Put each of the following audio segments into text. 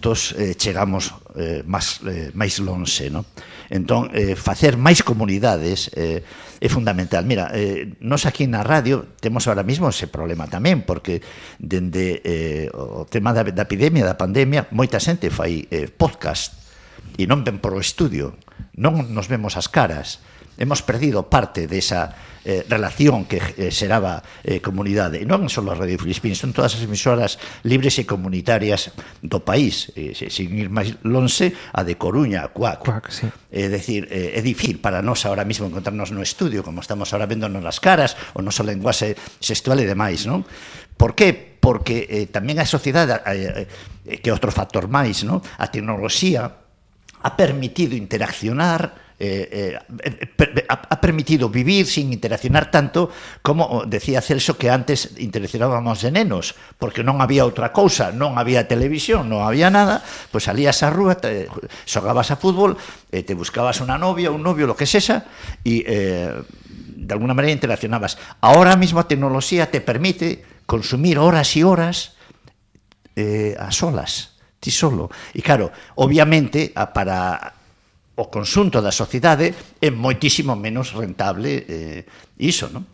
xuntos chegamos máis lonxe, non? Entón, facer máis comunidades é fundamental. Mira, nós aquí na radio temos ahora mismo ese problema tamén, porque dende o tema da epidemia, da pandemia, moita xente fai podcast e non ven por o estudio, non nos vemos as caras. Hemos perdido parte desa relación que xeraba comunidade. E non só a Radio Filispín, son todas as emisoras libres e comunitarias do país. Sin ir máis lonxe, a de Coruña, a Cuac. Sí. É dicir, é difícil para nós ahora mismo encontrarnos no estudio, como estamos ahora véndonos as caras, o noso lenguaxe sexual e demais, non? Por que? Porque tamén a sociedade, que é outro factor máis, non? A tecnoloxía ha permitido interaccionar, ha permitido vivir sin interaccionar tanto como decía Celso, que antes interaccionábamos de nenos, porque non había outra cousa, non había televisión, non había nada, pois salías á rúa, xogabas a fútbol, te buscabas unha novia, un novio, lo que sexa, e de alguna maneira interaccionabas. Ahora mismo a tecnoloxía te permite consumir horas e horas a solas, ti solo. E claro, obviamente, para o conxunto da sociedade é moitísimo menos rentable iso, non?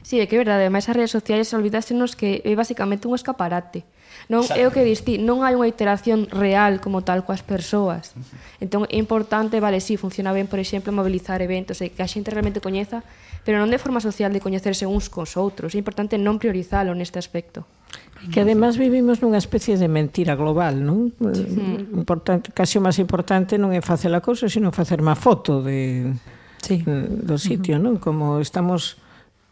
Sí, é que é verdade, ademais as redes sociais olvidásenos que é basicamente un escaparate. Non é o que diste, non hai unha interacción real como tal coas persoas. Entón é importante, vale, sí, funciona ben, por exemplo, mobilizar eventos e que a xente realmente coñeza, pero non de forma social de coñecerse uns cos outros. É importante non priorizalo neste aspecto. E que además vivimos nunha especie de mentira global, non? Importante, casi o máis importante non é facer a cousa, sino facer má foto do sitio, non? Como estamos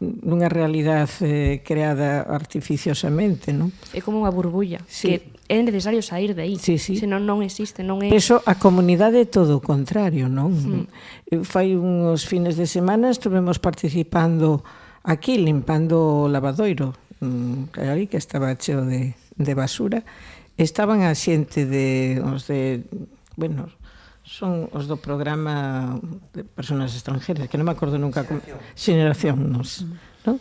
nunha realidade creada artificiosamente, non? É como unha burbulla, que é necesario sair de aí, senón non existe, non é... Eso, a comunidade é todo o contrario, non? Fai uns fines de semana estuvemos participando aquí, limpando o lavadoiro, ali que estaba cheo de basura. Estaban a xente son os do programa de personas extranjeras, que non me acordo nunca Xeneración, non?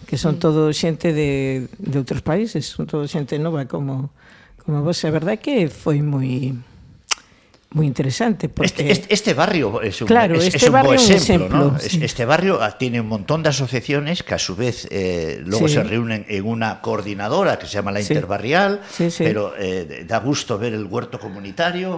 Que son todo xente de outros países, son todo xente nova como vos. A verdade é que foi moi interesante, porque este barrio es un, claro, es un buen ejemplo, ¿no? Sí. Este barrio tiene un montón de asociaciones que a su vez luego se reúnen en una coordinadora que se llama la Interbarrial, pero da gusto ver el huerto comunitario,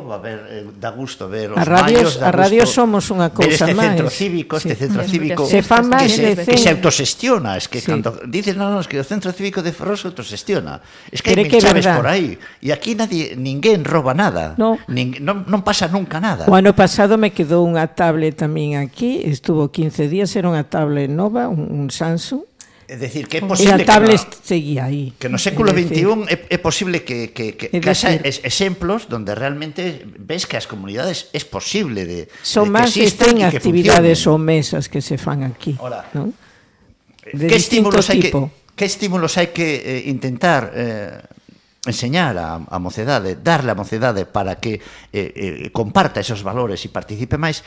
da gusto ver los mayos, a radio somos unha cousa máis. Este centro cívico se fa máis que se autosestiona, es que cando dicen es que o centro cívico de Ferrol se autosestiona, es que hai mil chaves por aí, e aquí ninguén roba nada, non pasa nunca nada. O ano pasado me quedou unha tablet tamén aquí, estuvo 15 días, era unha tablet nova, un Samsung. É dicir, que é posible que a tablet seguía aí. Que no século XXI é posible que haya exemplos donde realmente ves que as comunidades é posible de son máis que ten actividades ou mesas que se fan aquí. De distinto tipo. Que estímulos hai que intentar enseñar a mocedade, darle a mocedade para que comparta esos valores e participe máis,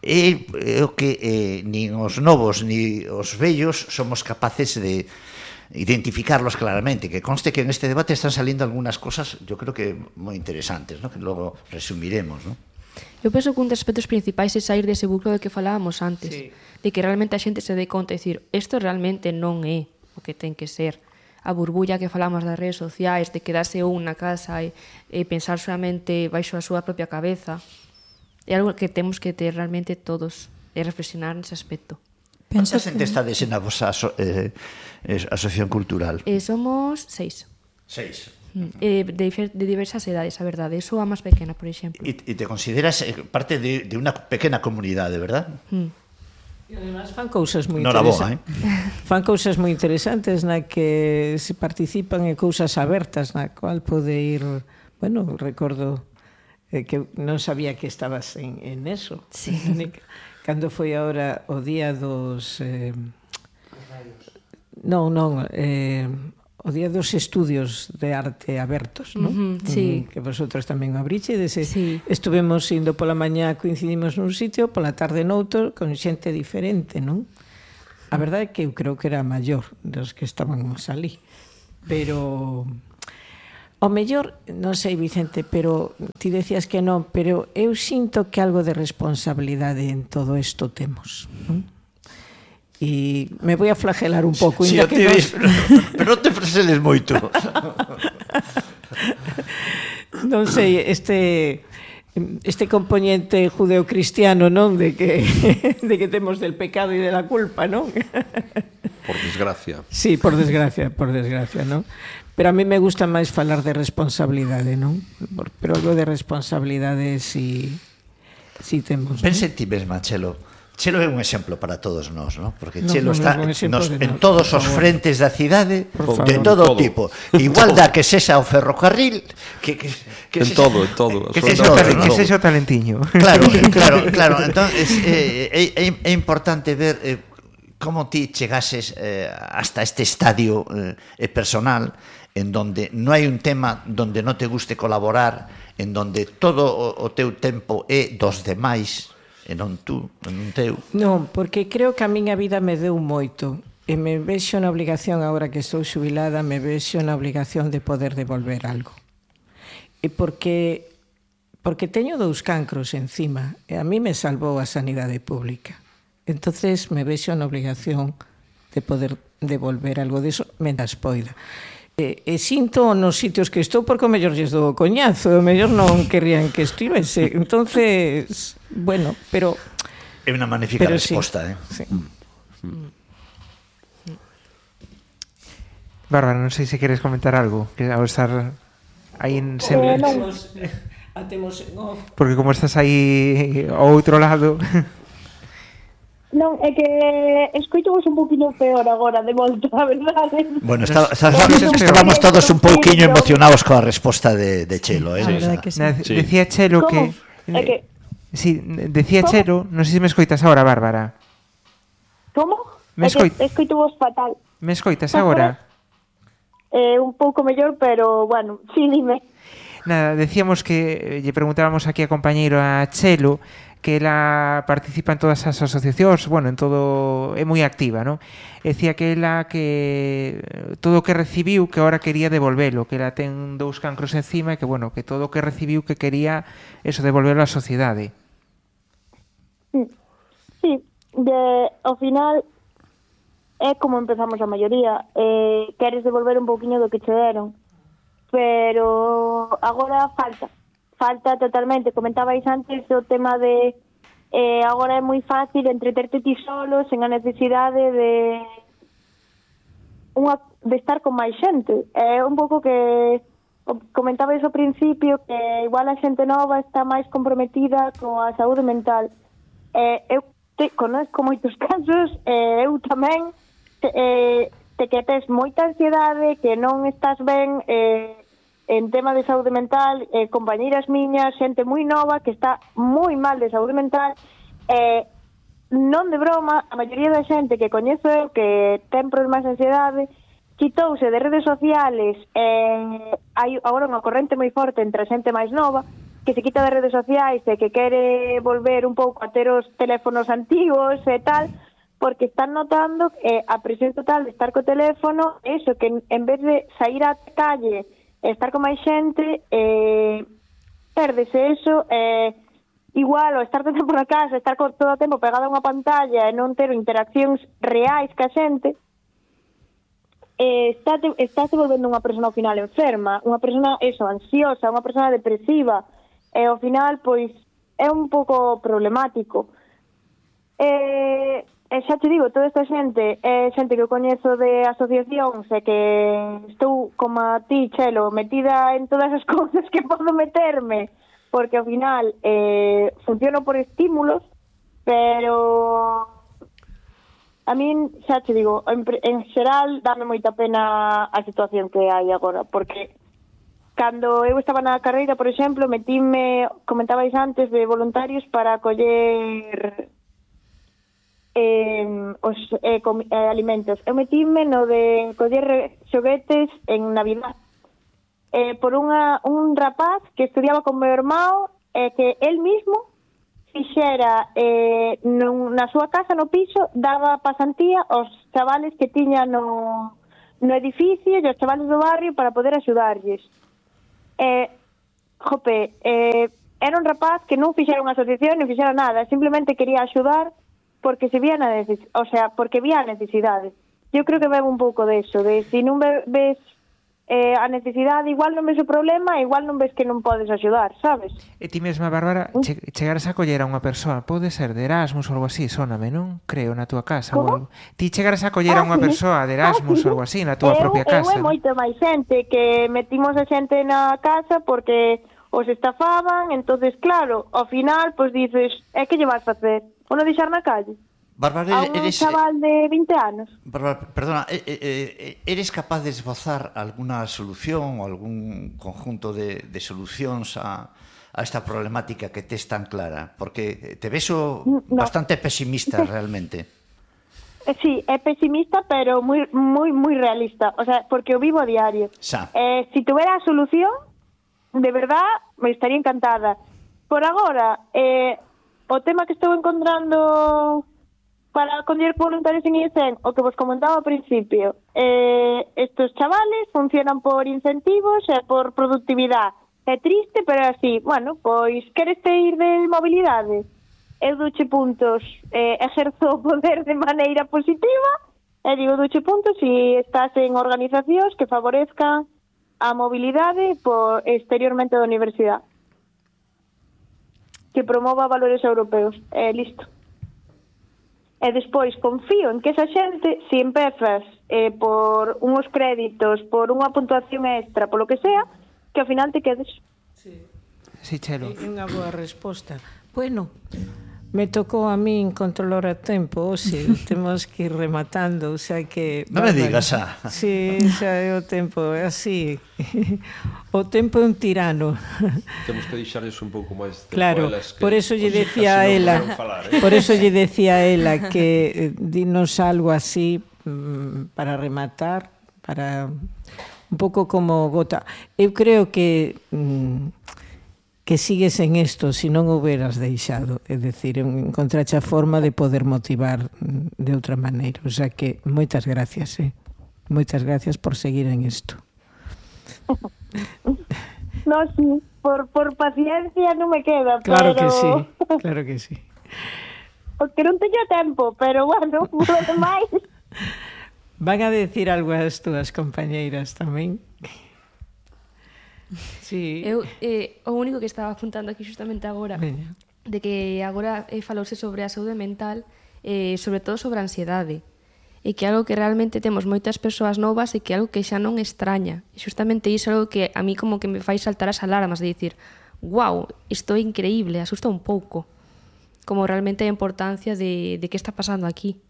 é o que nin os novos ni os vellos somos capaces de identificarlos claramente, que conste que en este debate están saliendo algunas cosas, yo creo que moi interesantes, ¿no? Que logo resumiremos, ¿no? Eu penso que un dos aspectos principais é sair dese buclo de que falábamos antes, de que realmente a xente se dé conta e dicir, isto realmente non é o que ten que ser. A burbulla que falamos das redes sociais, de quedarse un na casa e pensar solamente baixo a súa propia cabeza, é algo que temos que ter realmente todos e reflexionar nese aspecto. Quanta xente estades na vosa asociación cultural? Somos 6. 6. De diversas edades, a verdade. Eu sou a máis pequena, por exemplo. E te consideras parte de unha pequena comunidade, verdad? E además fan cousas moi interesantes. Fan cousas moi interesantes na que se participan en cousas abertas na cual pode ir, recordo que non sabía que estabas en eso. Sí. Cando foi agora o día dos o día dos estudios de arte abertos, non? Sí. Que vosotros tamén o abrichedes. Estuvemos indo pola mañá, coincidimos nun sitio, pola tarde noutro, con xente diferente, non? A verdade é que eu creo que era maior dos que estábamos ali. Pero, O mellor, non sei, Vicente, pero ti decías que non, pero eu sinto que algo de responsabilidade en todo isto temos, non? E me voy a flagelar un pouco. Sí, que pero non te freseles moito. Non sei, este componente judeocristiano, non? De que temos del pecado e de la culpa, non? Por desgracia. Sí, por desgracia, non? Pero a mí me gusta máis falar de responsabilidade, non? Pero algo de responsabilidade si temos. Pensa en ti mesma, Chelo. Chelo é un exemplo para todos nós, ¿no? Porque No, Chelo no, está no, en todos os frentes da cidade de todo Todo. tipo. Igual da que sexa o ferrocarril, que En todo, en todo. Que absolutamente sexa o todo. talentiño. Claro. Entonces, é importante ver como ti chegases hasta este estadio personal en donde non hai un tema donde non te guste colaborar, en donde todo o teu tempo é dos demais, e non tú, non teu. Non, porque creo que a miña vida me deu moito e me vexo na obrigación, agora que estou xubilada, me vexo na obrigación de poder devolver algo. E porque teño 2 cancros encima e a mí me salvou a sanidade pública. Entonces me vexo na obligación de poder devolver algo diso mendas poida. E sinto nos sitios que estou porque o mellor lles dou o coñazo, o mellor non querrían que estivese. Entonces, bueno, pero É unha magnífica resposta, sí. Bárbara, non sei se queres comentar algo, que ao estar aí en sempre... Atemos en off. Porque como estás aí ao outro lado... Non, é que escoitamos un poquinho peor agora de volta, a verdade. Bueno, estábamos todos un pouquiño emocionados coa resposta de Chelo, A verdade que sí. Decía Chelo que... É que... Sí, decía Chelo, non sei se me escoitas agora, Bárbara. Como? Me Escoito vos fatal. Me escoitas agora? Un pouco mellor, pero, bueno, sí, dime. Nada, decíamos que lle preguntábamos aquí a compañeiro a Chelo que ela participa en todas as asociacións, bueno, en todo, é moi activa, non? Decía que ela que todo o que recibiu que ahora quería devolvelo, que ela ten 2 cancros encima e que, bueno, que todo o que recibiu que quería eso, devolverlo á sociedade. Sí, ao final é como empezamos a maioría, queres devolver un pouquiño do que che deron, pero agora falta totalmente. Comentabais antes o tema de agora é moi fácil entreterte ti solo sen a necesidade de estar con máis xente. É un pouco que comentabais ao principio que igual a xente nova está máis comprometida coa saúde mental. Eu conozco moitos casos, eu tamén que tes moita ansiedade, que non estás ben en tema de saúde mental, compañeiras miñas, xente moi nova que está moi mal de saúde mental, non de broma, a maioría da xente que coñezo eu que ten problemas de ansiedade quitouse de redes sociales. Hai agora unha corrente moi forte entre a xente máis nova que se quita de redes sociais e que quere volver un pouco a ter os teléfonos antigos e tal, porque están notando a presión total de estar co teléfono, eso, que en vez de sair á calle estar con máis xente, perdese eso, igual, o estar todo o tempo na casa, estar todo o tempo pegado a unha pantalla e non ter interaccións reais ca xente, estáse volvendo unha persona ao final enferma, unha persona, eso, ansiosa, unha persona depresiva, e ao final, pois, é un pouco problemático. Xa te digo, toda esta xente é xente que eu coñezo de asociacións e que estou, como a ti, Chelo, metida en todas as cousas que podo meterme, porque ao final funciono por estímulos, pero a min, xa te digo, en xeral dame moita pena a situación que hai agora, porque cando eu estaba na carreira, por exemplo, metíme, comentabais antes, de voluntarios para coller os alimentos. Eu metíme no de coller xoguetes en Navidad por un rapaz que estudiaba con meu irmão, que él mismo fixera na súa casa, no piso, daba pasantía aos chavales que tiña no edificio e aos chavales do barrio para poder axudarlles. Era un rapaz que non fixera unha asociación, non fixera nada, simplemente quería axudar porque se vía porque vía a necesidade. Eu creo que ven un pouco deso, de se non ves a necesidade, igual non ves o problema, igual non ves que non podes axudar, sabes? E ti mesma, Bárbara, chegaras a coller a unha persoa, pode ser de Erasmus ou algo así, sóname, non? Creo, na túa casa ou algo. Ti chegaras a coller a unha persoa de Erasmus ou algo así, na túa propia casa. Eu é moito máis xente, que metimos a xente na casa porque os estafaban, entonces claro, ao final, pois dices, que lle vas facer? O non deixar na calle? Bárbara, A un chaval de 20 anos. Bárbara, perdona, eres capaz de esbozar alguna solución ou algún conjunto de solucións a esta problemática que tes tan clara? Porque te ves bastante pesimista realmente. Sí, é pesimista, pero moi realista. O sea, porque o vivo a diario. Si tuviera a solución, de verdad, me estaría encantada. Por agora, o tema que estou encontrando para coller voluntarios en ISEN, o que vos comentaba ao principio, estos chavales funcionan por incentivos e por productividade. É triste, pero así, bueno, pois queres ir de mobilidade? Eu duche puntos, exerzo o poder de maneira positiva, e digo duche puntos se estás en organizacións que favorezcan a mobilidade exteriormente da universidade, que promova valores europeos. Listo. E despois confío en que esa xente, se empezas por unhos créditos, por unha puntuación extra, polo que sea, que ao final te quedes. Sí, Chelo. É unha boa resposta. Bueno, me tocou a min controlar o tempo, temos que ir rematando, o sea que... Non me digas, Sí, xa é o tempo, é así. O tempo é un tirano. Temos que deixarles un pouco máis de claro, elas, por eso lle decía a ela, por eso lle decía a ela que dinos algo así para rematar, para un pouco como gota. Eu creo que sigues en isto se non o hubieras deixado, é dicir, encontrache a forma de poder motivar de outra maneira, o sea que moitas gracias, moitas gracias por seguir en isto. No, sí, por paciencia non me queda, claro pero... Claro que sí. Porque non teño tempo, pero bueno, por lo demais... Van a decir algo as túas compañeiras tamén? Sí. Eu o único que estaba apuntando aquí justamente agora, de que agora falouse sobre a saúde mental, sobre todo sobre a ansiedade, e que é algo que realmente temos moitas persoas novas e que é algo que xa non extraña. E justamente iso é algo que a mí como que me fai saltar as alarmas de dicir, wow, isto é increíble, asusta un pouco, como realmente a importancia de que está pasando aquí.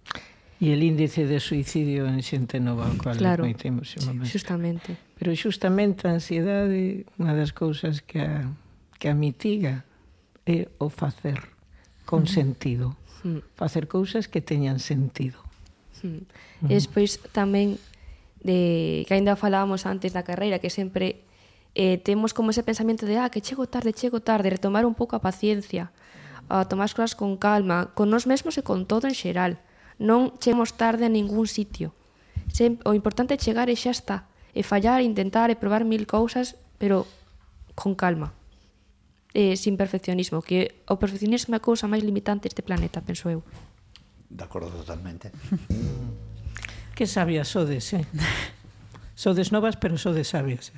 E el índice de suicidio en xente nova, o cual claro, moitemos justamente. Pero justamente a ansiedade, unha das cousas que a mitiga é o facer con sentido. Facer cousas que teñan sentido. E despois tamén que ainda falábamos antes da carreira, que sempre temos como ese pensamento de que chego tarde, retomar un pouco a paciencia, a tomar as cousas con calma, con nós mesmos e con todo en xeral. Non chegamos tarde a ningún sitio. O importante é chegar e xa está. E fallar, intentar e probar 1000 cousas, pero con calma. Sin perfeccionismo, que o perfeccionismo é a cousa máis limitante deste planeta, penso eu. De acordo totalmente. Que sabias sodes, Sodes novas, pero sodes sabias,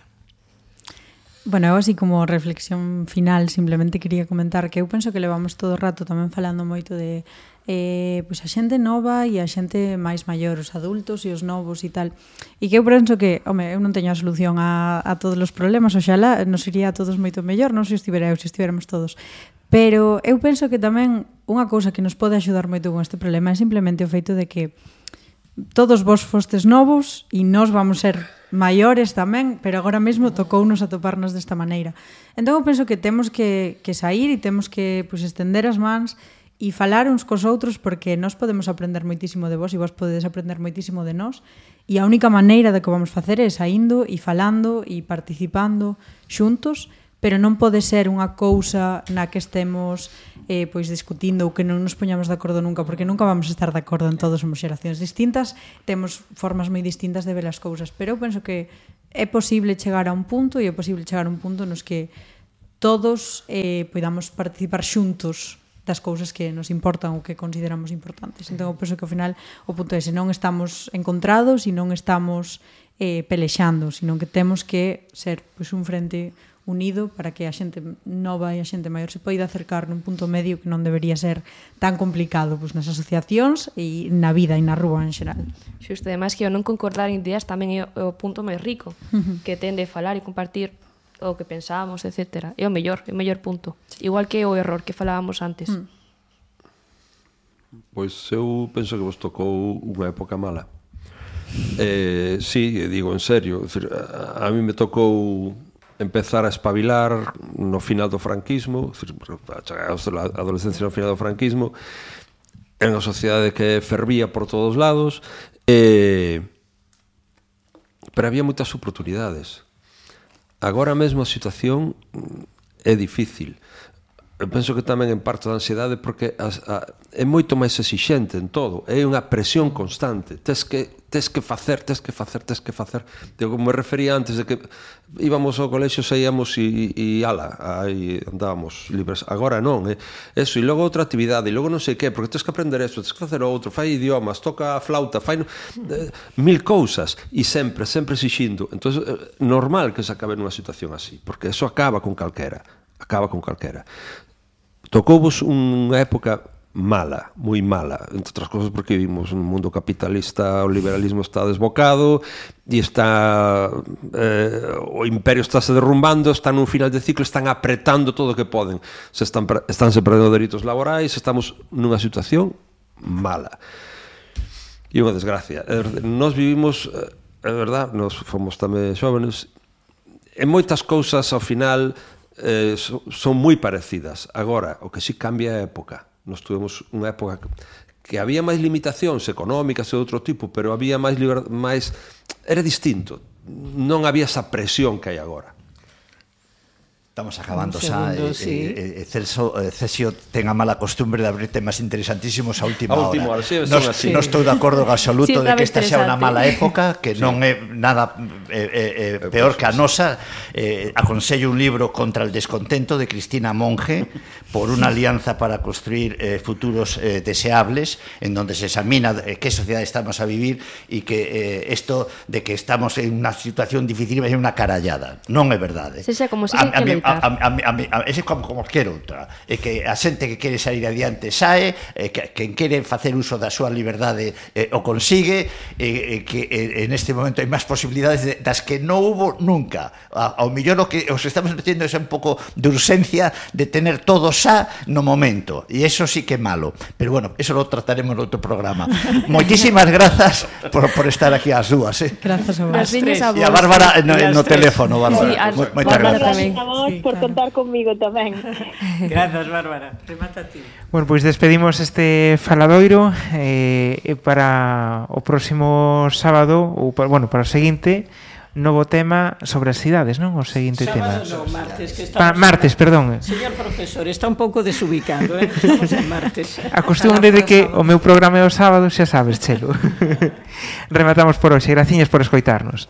Bueno, eu así como reflexión final simplemente quería comentar que eu penso que levamos todo o rato tamén falando moito de pois a xente nova e a xente máis maior, os adultos e os novos e tal. E que eu penso que, eu non teño a solución a todos os problemas, oxalá nos iría a todos moito mellor, non se estivera eu, se estiveramos todos. Pero eu penso que tamén unha cousa que nos pode axudar moito con este problema é simplemente o feito de que todos vos fostes novos e nós vamos ser maiores tamén, pero agora mesmo tocounos a toparnos desta maneira. Entón eu penso que temos que sair e temos que estender as mans e falar uns cos outros, porque nós podemos aprender moitísimo de vos e vos podedes aprender moitísimo de nós, e a única maneira de que vamos facer é saindo e falando e participando xuntos, pero non pode ser unha cousa na que estemos discutindo ou que non nos poñamos de acordo nunca, porque nunca vamos a estar de acordo en todos, somos xeracións distintas, temos formas moi distintas de ver as cousas, pero eu penso que é posible chegar a un punto e é posible chegar a un punto nos que todos podamos participar xuntos das cousas que nos importan ou que consideramos importantes. Entón, eu penso que ao final o punto é se non estamos encontrados e non estamos pelexando, sino que temos que ser pois, un frente unido para que a xente nova e a xente maior se poida acercar nun punto medio que non debería ser tan complicado pois, nas asociacións e na vida e na rúa en xeral. Xusto, ademais que o non concordar en ideas tamén é o punto máis rico, que tende a falar e compartir o que pensábamos, etc. É o mellor punto. Igual que o error que falábamos antes. Pois eu penso que vos tocou unha época mala. Sí, digo en serio, a mí me tocou empezar a espabilar no final do franquismo, a adolescencia no final do franquismo, era unha sociedade que fervía por todos lados, pero había moitas oportunidades. Agora mesmo a situación é difícil. Eu penso que tamén en parte da ansiedade porque é moito máis exixente en todo, é unha presión constante, tes que facer. Digo, como me refería antes de que íbamos ao colexio, saíamos e ala, aí andábamos libres. Agora non, eso, e logo outra actividade, e logo non sei que, porque tens que aprender eso, tens que facer outro, fai idiomas, toca a flauta, fai mil cousas, e sempre exixindo. Entón, normal que se acabe nunha situación así, porque eso acaba con calquera. Tocouvos unha época mala, moi mala, entre outras cosas porque vivimos un mundo capitalista, o liberalismo está desbocado e está o imperio está se derrumbando, está nun final de ciclo, están apretando todo o que poden, estánse perdendo dereitos laborais, estamos nunha situación mala e unha desgracia. Nós vivimos, é verdad, nós fomos tamén xóvenes, e moitas cousas ao final son moi parecidas. Agora, o que si cambia é a época. Nós tuvemos unha época que había máis limitacións económicas e de outro tipo, pero había máis era distinto. Non había esa presión que hai agora. Estamos acabando xa. Cesio ten a mala costumbre de abrir temas interesantísimos a última hora. Non estou de acordo en absoluto de que esta xa unha mala época, que non é nada peor que a nosa. Aconsello un libro Contra el descontento de Cristina Monge, por unha alianza para construir futuros deseables, en donde se examina que sociedade estamos a vivir e que isto de que estamos en unha situación difícil é unha carallada. Non é verdade. Sexa como se que ese como cualquier outra, é que a xente que quere sair adiante sae, quen quere facer uso da súa liberdade o consigue, que en este momento hai máis posibilidades das que non hubo nunca. Ao mellor o que os estamos metiendo é un pouco de urxencia de tener todo xa no momento, e eso sí que é malo, pero bueno, eso lo trataremos no outro programa. Moitísimas grazas por estar aquí ás dúas. Grazas a vos. E a Bárbara no teléfono, Bárbara. Moitas grazas a vos por contar conmigo tamén. Grazas, Bárbara. Remata ti. Bueno, pois despedimos este faladoiro para o próximo sábado, ou para o seguinte, novo tema sobre as cidades, non? O seguinte tema. Sábado non, martes, que estamos... Martes, perdón. Señor profesor, está un pouco desubicado, Estamos en martes. A costumbre de que o meu programa é o sábado, xa sabes, Chelo. Rematamos por hoxe. Graciñas por escoitarnos.